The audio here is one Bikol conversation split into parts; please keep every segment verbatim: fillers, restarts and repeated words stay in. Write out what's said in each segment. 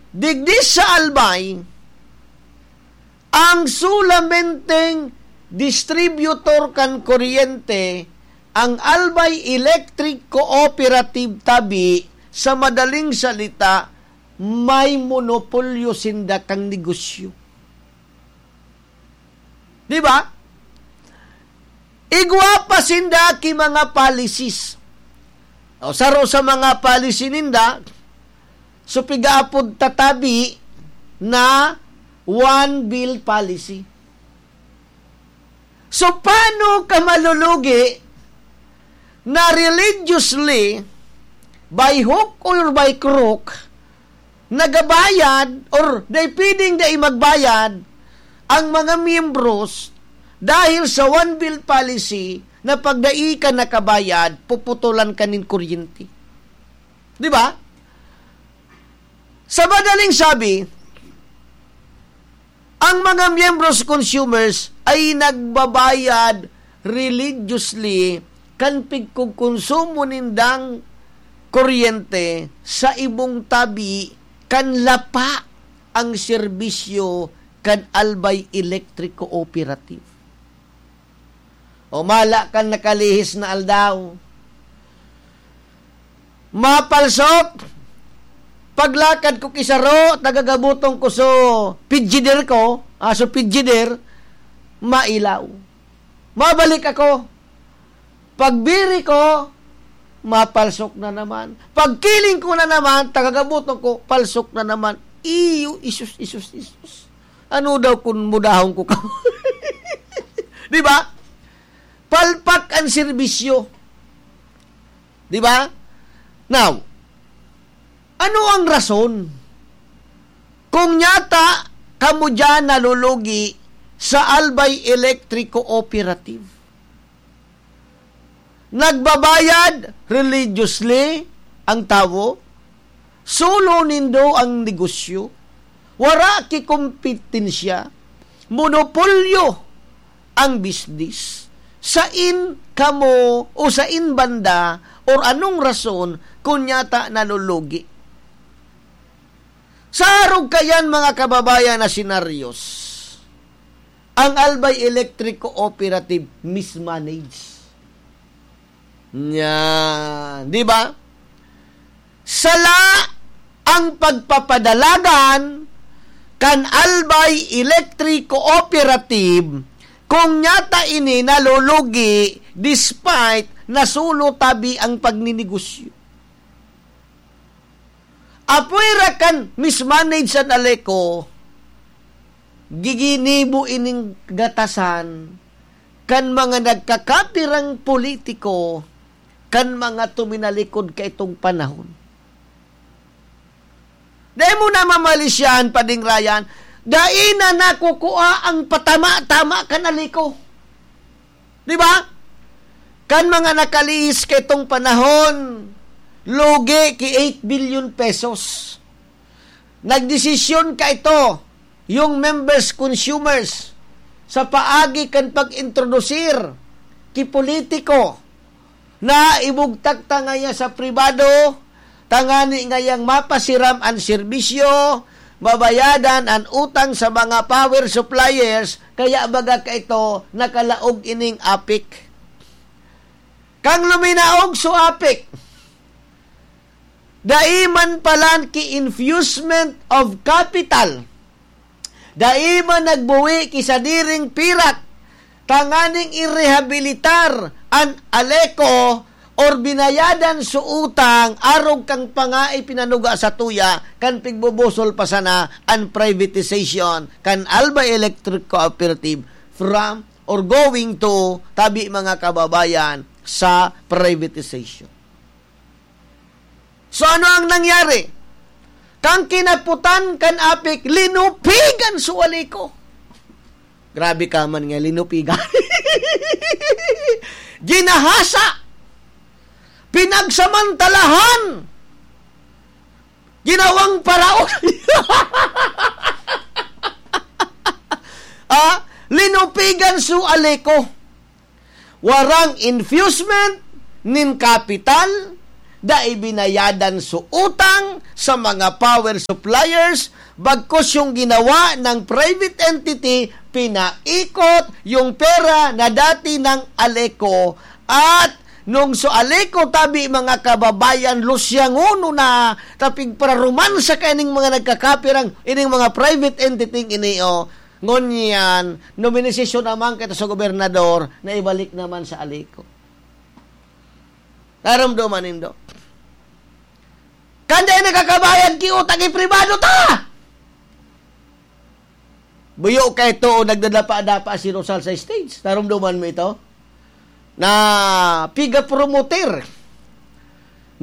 Digdi sa Albay, ang solamenteng distributor kan kuryente, ang Albay Electric Cooperative tabi, sa madaling salita, may monopolyo sinda kan negosyo. Di ba? Igwa pa sinda ki mga policies. O, saro sa mga policy ninda, so pigaapod tatabi na one bill policy. So, paano ka malulugi na religiously, by hook or by crook, nagabayad or dai pwedeng dai magbayad ang mga miyembros dahil sa one bill policy na pag dai ka nakabayad, puputulan ka nin kuryente. Di ba? Sa madaling sabi, ang mga miyembros consumers ay nagbabayad religiously kan pigkukonsumo nindang kuryente sa ibong tabi kan lapa ang serbisyo kan Albay Electric Cooperative. O mala kan nakalihis na aldaw. Mapalsok! Paglakad ko ki saro, tagagabuton ko so pidjider ko, ah, so pidjider, mailaw. Mabalik ako. Pagbiri ko, mapalsok na naman. Pagkiling ko na naman, tagagabuton ko, palsok na naman. Iyo, isus, isus, isus. Ano daw kun mudahon ko ka? Di ba? Palpak ang serbisyo. Di ba? Now, ano ang rason? Kung nyata, kamo dyan nalulugi sa Albay Electric Cooperative. Nagbabayad religiously ang tawo, solo nindo ang negosyo, wara ki kompetensya, monopolyo ang bisnis. Sain kamo o sain banda or anong rason kun nyata nalulugi? Sa arog kayan, mga kababayan, na senaryos, ang Albay Electric Cooperative mismanage. Yan. Di ba? Sala ang pagpapadalagan kan Albay Electric Cooperative kung nyata ini nalulugi despite na solo tabi ang pagninegosyo. Apwera kan mismanage an Aleco, giginibo ining gatasan kan mga nagkakapirang politiko kan mga tuminalikod kaitong panahon. Dai mo na mamalisyahan, Pading Ryan, dai na nakukua ang patama-tama kan Aleco. Di ba? Kan mga nakalihis kaitong panahon, lugi ki eight billion pesos. Nagdesisyon kaito yung members, consumers, sa paagi kan pag-introdusir ki politiko na ibugtak ta ngaya sa pribado, tangani ngayang mapasiram an serbisyo, mabayadan an utang sa mga power suppliers, kaya baga kaito nakalaog ining APEC. Kan luminaog so APEC, dai man palan ki infusement of capital, dai man nagbuwi ki sadiring pirak tanganing irehabilitar an Aleco or binayadan so utang arog kan pangaay pinanuga sa tuya kan pigbubusol pa sana an privatization kan Albay Electric Cooperative from or going to tabi, mga kababayan, sa privatization. So, ano ang nangyari? Kan kinaputan kan APEC, linupigan so Aleco. Grabe ka man nga, linupigan. Ginahasa. Pinagsamantalahan. Ginawang paraon. Ah, linupigan so Aleco. Warang infusement nin kapital, dai binayadan su utang sa mga power suppliers, bagkus yung ginawa ng private entity, pinaikot yung pera na dati ng Aleco. At nung su Aleco, tabi, mga kababayan, lusyangono na, tapig pararuman sa kaining mga nagkakapirang, ining mga private entity ini, oh. Ngunyan, nominisasyon naman kita sa gobernador na ibalik naman sa Aleco. Naromdoman nindo? Kan dai nakakabayad ki utang, ipribado ta! Buyo ka ito o nagdadapa-dapa si Rosal sa stage. Naromdoman mo ito? Na piga promoter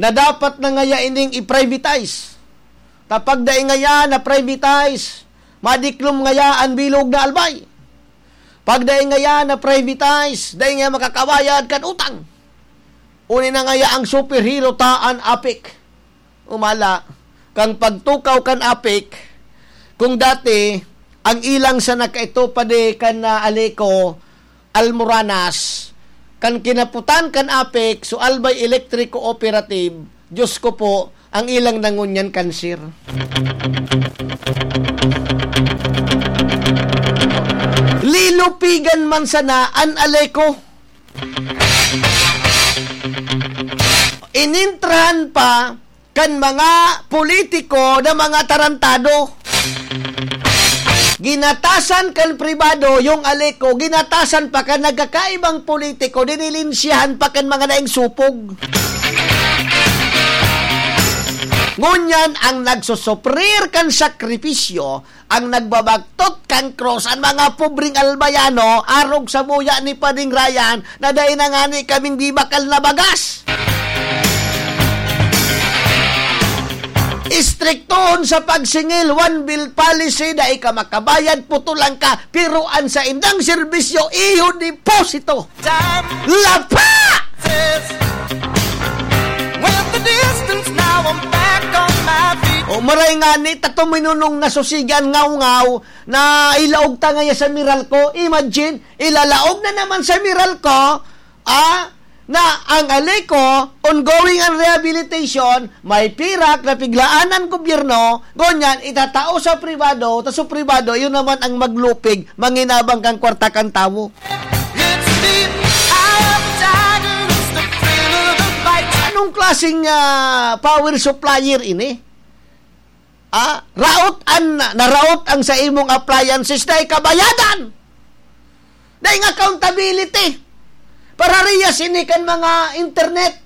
na dapat na ngaya ining i-privatize. Tapag dai ngaya na privatize, madiklom ngaya an bilog na Albay. Pag dai ngaya na privatize, dai ngaya makakabayad kan utang. Uni na ngaya ang superhero ta an APEC. Umala, kang pagtukaw kan APEC, kung dati, ang ilang sana kaito padi kan, ah, Aleco, Almoranas, kan kinaputan kan APEC, so Albay Electric Cooperative, Diyos ko po, ang ilang na ngunyan kanser. Lilupigan man sana an Aleco. Inintrahan pa kan mga politiko na mga tarantado. Ginatasan kan pribado yung Aleco, ginatasan pa kan nagkakaibang politiko, dinilinsyahan pa kan mga daing supog. Ngunyan, ang nagsusuprir kan sakripisyo, ang nagbabagtot kan krus, ang mga pobreng Albayano, arog sa buya ni Pading Ryan, na dai na ngani kaming bibakal na bagas. Istriktohon sa pagsingil, one bill policy, dai ka makabayad, putulan ka, pero an saindang serbisyo, iyo deposito. Lapa! With the distance, now I'm back on my feet. O, maray ngani, tato minunong nasusigan ngaw-ngaw na ilaog ta ngaya sa Meralco. Imagine, ilalaog na naman sa Meralco, ah, na ang Aleco, ongoing ang rehabilitation, may pirak na piglaan ang gobyerno, ngunyan, itatao sa pribado, ta sa pribado, yun naman ang maglupig, manginabang kan kwarta kan tawo. It's the eye of the tiger, it's the thrill of the fight. Anong klaseng, ah, power supplier ini? Ah, raot an, naraot ang sa imong appliances na ikabayadan. Dai nga accountability. Parariyas ini kan mga internet.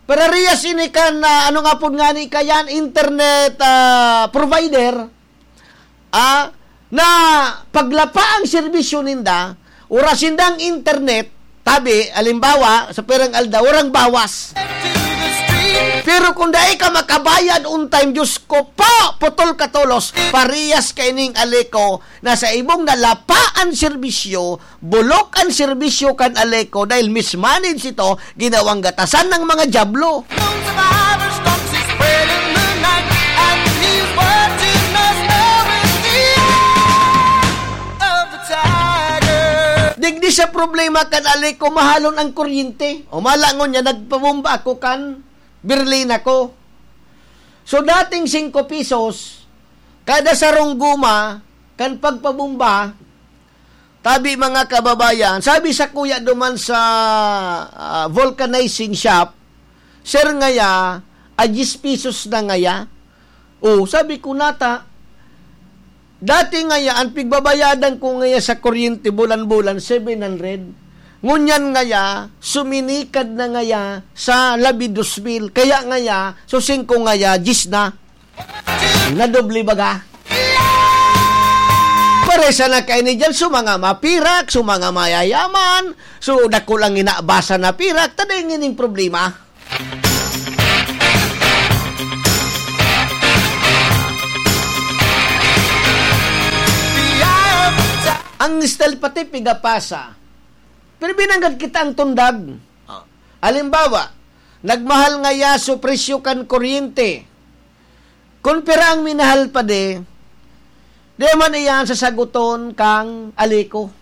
Parariyas ini kan, ah, ano nga pud ngani kayan, internet, ah, provider. Ah, na paglapa ang serbisyo ninda, oras sindang internet, tabi, alimbawa, sa pirang aldaw, warang bawas. Pero kung dai ka makabayad on time, Diyos ko po, putol ka tolos, parehas kaining Aleco na sa ibong nalapa an serbisyo, bulok an serbisyo kan Aleco dahil mismanage ito, ginawang gatasan ng mga dyablo. Lone survivor, storm is spreading the night, and he's watching us now in the eye of the tiger. Digdi sa problema kan Aleco, mahalon ang kuryente. O malangon niya, nagpabomba ako kan Berlin ako. So, dating singko pesos, kada sarong guma, kan pagpabomba, tabi, mga kababayan, sabi sa kuya duman sa, ah, vulcanizing shop, "Sir, ngaya, a diyes pesos na ngaya." "Oh," sabi ko, "nata, dati ngaya, ang pigbabayadan ko ngaya sa kuryente bulan-bulan, seven hundred. Ngunyan ngaya, suminikad na ngaya sa labi dos mil. Kaya ngaya, so singko ngaya, diyes na." Nadoble baga. Paresa na kaini diyan, so mga mapirak, so mga mayayaman, so dakul ang inabasa na pirak, ta dai ngining problema. Ang style pati pigapasa. Pero binanggad kita ang tundag. Halimbawa, nagmahal ngaya so presyo kan kuryente. Kun pira ang minahal pa di, di man iyan sasaguton kang Aleco,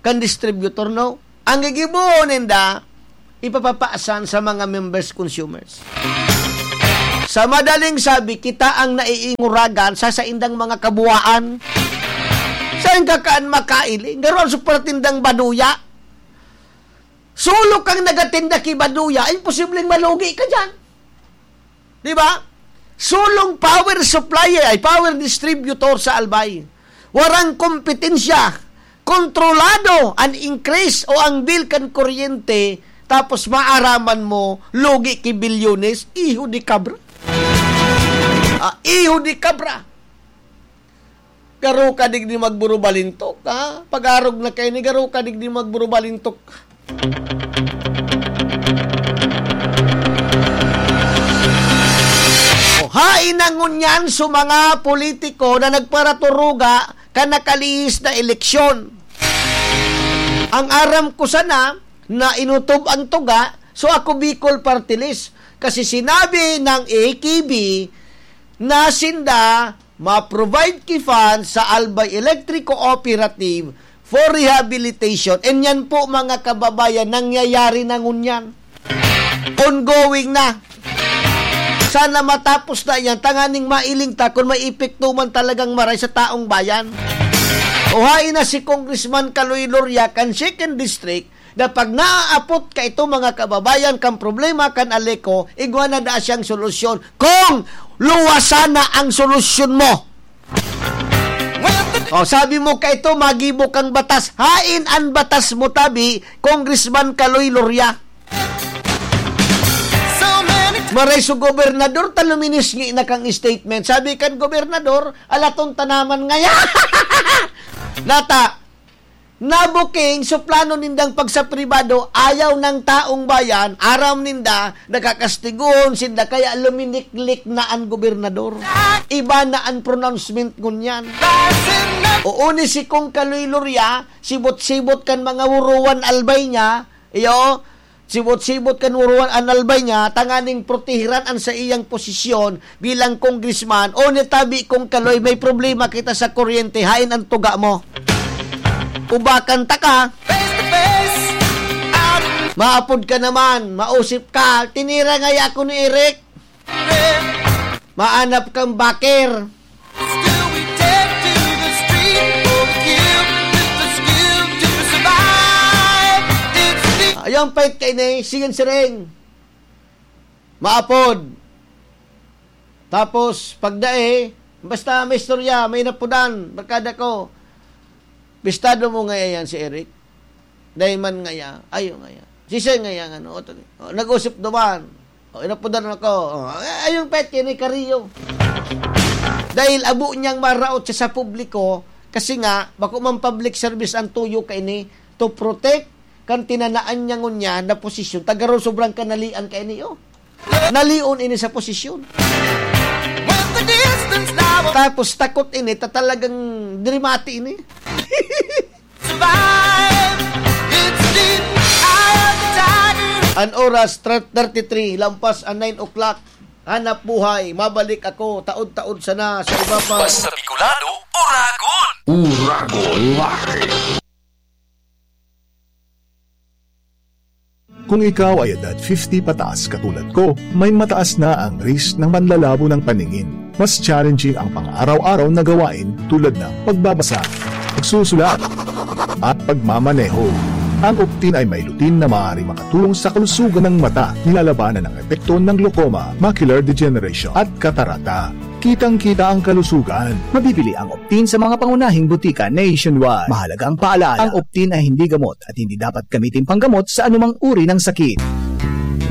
kan distributor, no? Ang gigibohon ninda, ipapapaasan sa mga members consumers. Sa madaling sabi, kita ang naiinguragan sa saindang mga kabuwaan. Sain ka kaan makaili? Garo ang suportindang baduya. Solo kang nagatinda ki baduya, imposibleng malugi ka dyan. Di ba? Solong power supplier, ay power distributor sa Albay. Warang kompetensya. Kontrolado an increase o ang bill kan kuryente, tapos maaraman mo, lugi ki bilyones, iho di kabra. Ah, iho di kabra. Garo ka digdi magburubalintok, ha? Pag-arog na kaini, garo ka digdi magburubalintok. O, hain na ngunyan sa mga politiko na nagparaturuga kan nakalihis na eleksyon. Ang aram ko sana na inutob ang tuga, so ako Bicol Party List. Kasi sinabi ng A K B na sinda ma-provide ki funds sa Albay Electric Cooperative for rehabilitation. And yan po, mga kababayan, nangyayari na ngunyan. Ongoing na. Sana matapos na yan, tanganing mailing ta kung may epekto man talagang maray sa taong bayan. O hain na si Congressman Kaloy Loria kan Second District, na pag naaapot ka ito, mga kababayan, kan problema kan Aleco, igwa na daa siyang solusyon. Kung luwa sana ang solusyon mo. O, sabi mo ka ito, magibo kang batas. Hain an batas mo, tabi, Congressman Kaloy Loria. Maray su gobernador, ta luminisngi na kang statement. Sabi kan gobernador, alaton ta naman ngaya. Nata, nabuking, so plano nindang pagsapribado, ayaw ng taong bayan, aram ninda, nakakastigohon sinda, kaya luminiklik na an gobernador. Iba na an pronouncement ngunyan. Oo, ni si Kong Kaloy Loria, sibot-sibot kan mga wuruwan albay niya, iyo, sibot-sibot kan wuruwan an albay niya, tanganing protehiran an saiyang posisyon bilang congressman. O ni tabi Kong Kaloy, may problema kita sa kuryente, hain an tuga mo. Ubakan ta ka. Face to face, out. Maapod ka naman, mausip ka. Tinira ngaya ako ni Eric. Maanap kang baker. Still we take to the street for the cue, with the skill to survive. It's the Ayong pait kaini, sige siring. Maapod. Tapos, pagdai, basta may istorya, may napudan, barkada ko. Bistado mo nga yan si Eric. Dai man ngaya, ayo ngaya. Sisay ngaya nga, no? Oto ni. O, nag-usip duman. O, inapudan ako. O, ay, ayong pet, yan ay kariyo. Dahil abo niyang maraot siya sa publiko, kasi nga, bako man public service ang tuyo kaini to protect kan tinanaan niya ngunyan na posisyon. Tagaro sobrang kanalian kaini, oh. Nalion ini sa posisyon. When the distance now Tapos takot ini, ta talagang diri mati ini. Survive. It's the eye of the tiger. An oras, thirty-three, lampas an nine o'clock. Hanap buhay, mabalik ako, taod-taod sana sa iba pa. Basta Bicolano, Uragon! Uragon Live! Kung ikaw ay edad fifty pataas katulad ko, may mataas na ang risk ng manlalabo ng paningin. Mas challenging ang pang-araw-araw na gawain tulad ng pagbabasa, pagsusulat, at pagmamaneho. Ang Optin ay may lutein na maaaring makatulong sa kalusugan ng mata, nilalabanan ang epekto ng glaucoma, macular degeneration, at katarata. Kitang-kita ang kalusugan. Mabibili ang Optin sa mga pangunahing butika nationwide. Mahalaga ang paalala, ang Optin ay hindi gamot at hindi dapat gamitin panggamot sa anumang uri ng sakit.